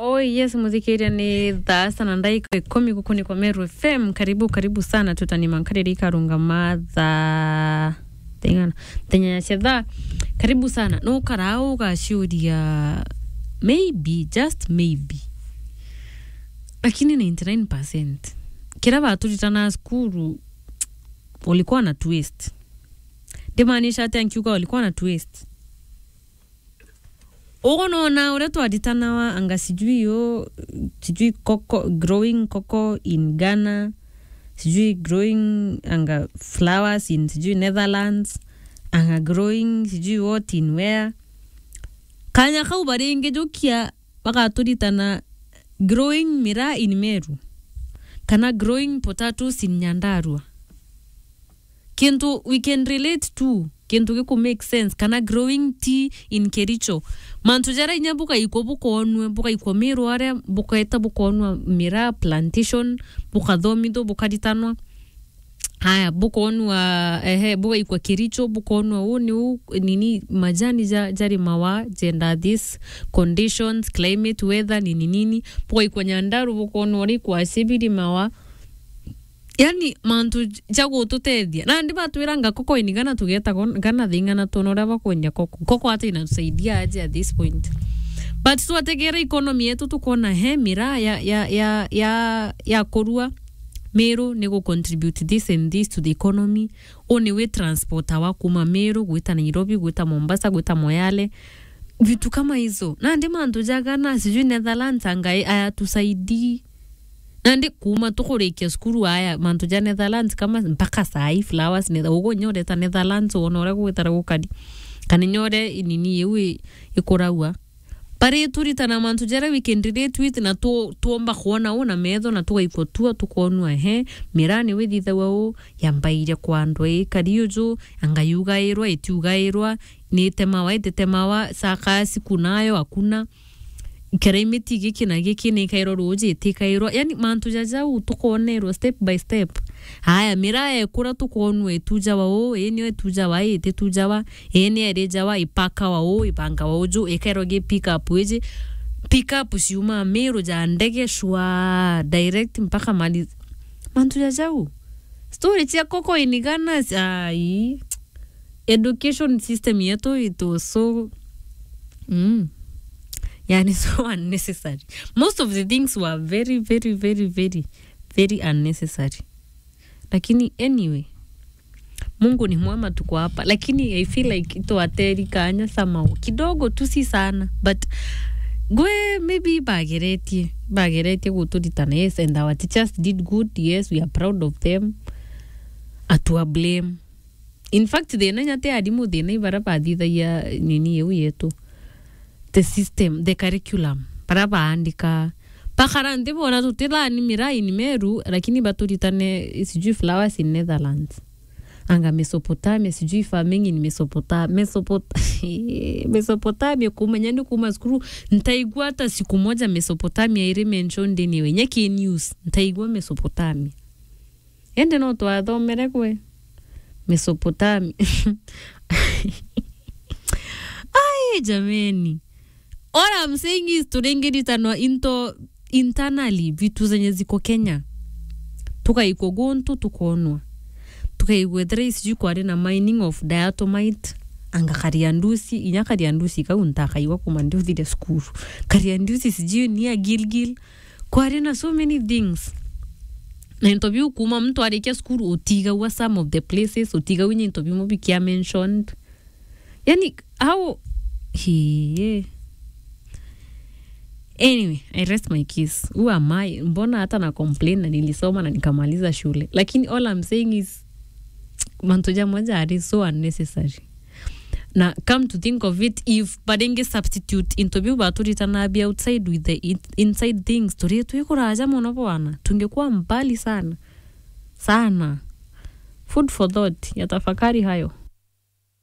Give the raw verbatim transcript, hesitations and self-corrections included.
Oh yes, muthikiria, ni thaa sana ndaika ikumi guku ni kwa Meru F M. Karibu, karibu sana, tutani mankariri ikarungama thaa thing'ana, thenya ya cetha. Karibu sana. No karaa ugaciuria, maybe, just maybe, lakini ninety nine percent kira baturitana cukuru ulikuwa na twist. Ndimaanisha atia nkiuga ulikuwa na twist? Ugo nona uria twaritanawa anga sijui yo, sijui cocoa, growing cocoa in Ghana, sijui growing anga flowers in sijui Netherlands, anga growing sijui what in where. Kanya kau baringi jukia bagaturitana growing miraa in Meru, kana growing potatoes in Nyandarua. Kintu we can relate to, kintu giku make sense, kana growing tea in Kericho. Mantu jaria inya bugaikwa bukonwe, bugaikwa Meru aria, bukaeta bukonwa miraa plantation, bukathomithwa, bukaritanwa. Haya, bukonwa, ehe, bugaikwa Kericho, bukonwa uu ni uu, nini, majani ja, jarimawa, jenda this conditions, climate, weather, nini, nini. Bugaikwa Nyandaru, bukonwa uria ikwasi birimawa. Yani, mantu ja gututethia. Nandi batwiranga koko in Ghana, tugeta Ghana thing'ana, twona uria bakwendia koko. Koko ata inatusaidia aje at this point? But twategera economy yetu, tukona he miraa ya, ya, ya, ya, ya kurua Meru ni gu contribute this and this to the economy. U ni wi transporter wa kuma Meru gwita Nairobi, gwita Mombasa, gwita Moyale. Vitu kama hizo. Nandi mantu ja Ghana, sijui Netherlands, anga ayatusaidii. Nandi kuma tukurikia cukuru aya, mantu ja Netherlands kama mpaka saa hii flowers, Nether-, ugu inya ureta Netherlands, wona uria gugwitara gukari. Kana inya uria nini iu i-, ikuragwa. Bari turitana mantu jaria we can relate with na tu-, tuomba kwona u na metho na tugaikwa tua tukonua, ehe, miraa ni withithagwa u, yambaire kwa andu ii, kari uju, anga yugairwa, itiugairwa, ni itemawa, ititemawa, saka siku nayo, hakuna. Kiraimiti giki na giki ni ikairwa ruuji, itikairwa. Yani, mantu ja jau tukonerwa step by step. Aya, miraa ekura tukonua itujawa uu, ii nio itujawa, ii ititujawa, ii ni irijawa, ipakawa uu, ibangawa uju, ikairwa gi pick up iji. Pick up ciuma Meru ja ndege shwa direct mpaka Malindi. Mantu ja jau. Story cia koko in Ghana, ai. Education system yetu, it was so, mm, yani, so unnecessary. Most of the things were very, very, very, very, very unnecessary. Lakini anyway, Mungu ni mwema, tuko hapa. Lakini I feel like itwateri kanya somehow. Kidogo tu, si sana. But ngwe maybe bageretie. Bageretie guturitana. Yes, and our teachers did good. Yes, we are proud of them. Atua blame. In fact, thina inya ti arimu, thina i bara bathithagia nini iu yetu. The system, the curriculum. Bara baandika. Bakara nthi bona tutithani miraa in Meru, lakini baturitane sijui flowers in Netherlands. Anga Mesopotamia, sijui farming in Mesopota-, Mesopot-, Mesopotamia, kumenya ni kuma cukuru, ntaigua hata siku moja Mesopotamia iri mentioned anyway. Nyeki news, ntaigua Mesopotamia. Indi no twathomere kwe Mesopotamia. Ai, jameni. All I'm saying is, turingiritanwa into internally, vitu zenye ziko Kenya. Tugaikwa guntu, tukonwa. Tugaigua ethira sijui kwari na mining of diatomite, anga Kariandusi, inya Kariandusi kau ntakaigua kuma ndiuthire cukuru. Kariandusi sijui ni a Gilgil. Kwari na so many things. Na into biu kuma muntu arikia cukuru, utigagua some of the places, utigagua inya into bimwe bikia mentioned. Yani, how, hii. Anyway, I rest my case. Who am I? Mbona hata na complain na nilisoma na nikamaliza shule? Lakini all I'm saying is, mantu jamwe jari so unnecessary. Na come to think of it, if baringi substitute into biu baturitana bi outside with the in-, inside things, turi twikuraja mono bwana, tungekuwa mbali sana. Sana. Food for thought, ya tafakari hayo.